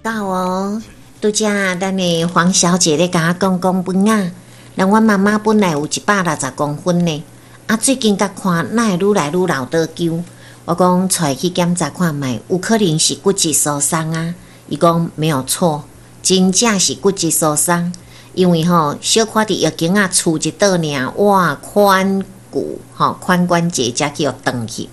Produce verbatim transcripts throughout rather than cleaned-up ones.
到哦。拄才咱的黃小姐咧共我講講本啊，人阮媽媽本來有一百六十公分呢，啊最近佮看哪會愈來愈老倒勼。我講帶去檢查看覓，有可能是骨質疏鬆啊。伊講沒有錯，真正是骨質疏鬆，因為吼小可佇浴間仔跙一倒爾，哇，髖骨吼髖關節才去予斷去。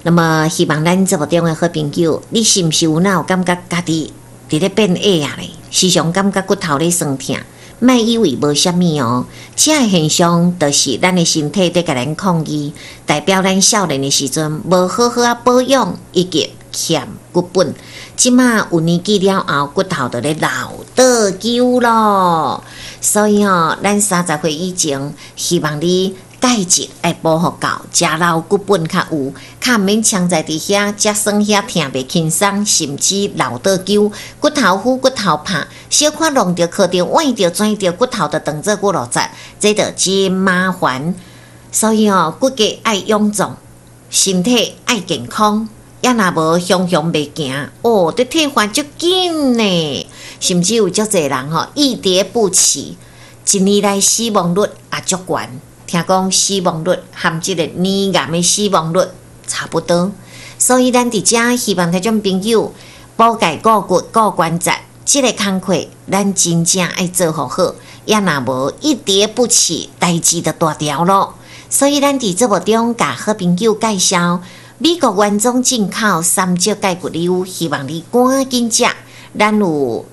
那麼希望咱節目中的好朋友，你是毋是有哪有感覺家己佇咧變矮啊咧？時常感覺骨頭咧酸疼，莫以為無啥物哦。這个現象就是咱的身體佇共咱抗議，代表咱少年的時陣無好好仔保養以及欠骨本。這馬有年紀了後，骨頭就咧老倒勼咯。所以吼，咱三十歲以前，希望你鈣質愛補予夠，食老骨本較有，較毋免嗆在佇遐，遮酸遐疼袂輕鬆，甚至老倒勼，骨頭腐骨頭拍，小可弄著、磕著、崴著、轉著，骨頭就當做骨碌節，這就真麻煩。所以吼，骨骼愛臃腫，身體愛健康。也若無雄雄袂行，哦，這退化足緊呢。甚至有足濟人吼一跌不起，一年來死亡率也足懸。聽講死亡率含這个乳癌的死亡率差不多。所以咱佇遮希望聽眾朋友補鈣顧骨顧關節，這个工課咱真正愛做予好。也若無一跌不起，代誌就大條咯。所以咱佇節目中共好朋友介紹美國原裝進口三隻鈣骨溜，希望你趕緊食。咱有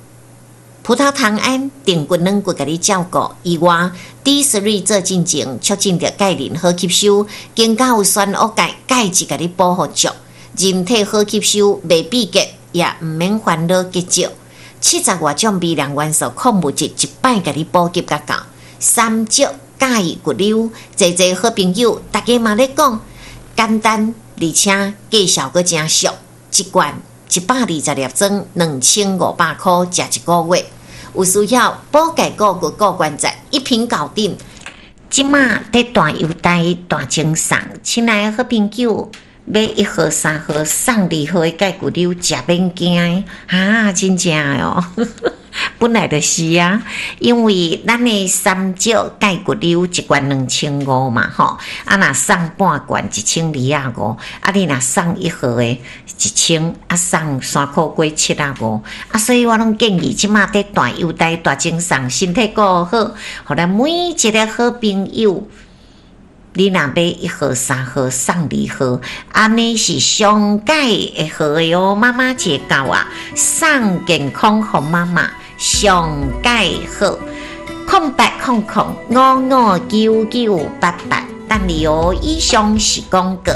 葡萄糖胺、定骨軟骨，共你照顧以外，D 三 做進前，促進著鈣磷好吸收，更加有酸烏鈣，鈣質共你補予足，人體好吸收，袂秘結，也毋免煩惱結石。七十外種微量元素、礦物質，一擺共你補給甲夠。三隻鈣骨溜，濟濟好朋友，大家嘛咧講簡單，而且價數閣誠俗，一罐一百二十粒裝，兩千五百箍，食一個月。有需要補鈣顧骨顧關節，一瓶搞定。這馬佇大優待大贈送，親愛的好朋友，買一盒、三盒送二盒的鈣骨溜，食免驚啊！真正的哦，本來就是啊，因為咱的三隻鈣骨溜一罐兩千五嘛，吼，啊若送半罐一千二仔五，啊你若送一盒的一千，啊送三箍過七仔五，啊所以我攏建議這馬佇大優待大贈送，身體顧好，予咱每一个好朋友。你若買一盒、三盒送二盒，按呢是上蓋會好的哦。媽媽節到啊，送健康予媽媽上蓋好。空八空空五五九九八八，等你哦。以上是廣告。